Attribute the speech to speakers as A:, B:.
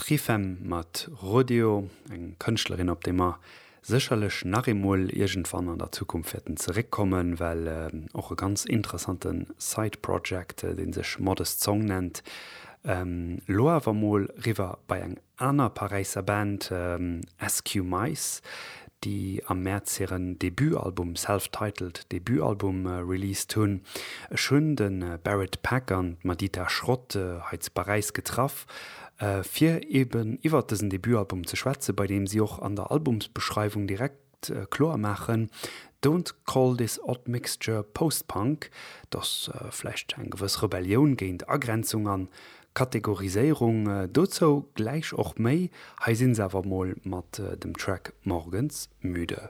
A: Trifem mat Rodeo, eng Kënschtlerin op déi mer sécherlech nach eemol iergendwann an der Zukunft wäerten zeréckkommen, well och e ganz interessante Side Project, dee sech Modest Song nennt. Lo awer mol riwwer bei eng aner Paräisser Band, SQ Mice, déi am Mäerz hiren Debutalbum, self-titled Debutalbum, released hunn. Ech hunn de Barrett Peck an d'Madita Schrott hei zu Paräis getraff, fir eben iwwert dësen Debutalbum ze schwätzen, bei deem si och an der Albumsbeschreiwung direkt kloer maachen, Don't call this odd mixture post-punk, dass vläicht eng gewëss Rebellioun géint Agrenzung an Kategoriséierung, dozou gläich och méi, hei sinn se awer mol mat dem Track Morgens müde.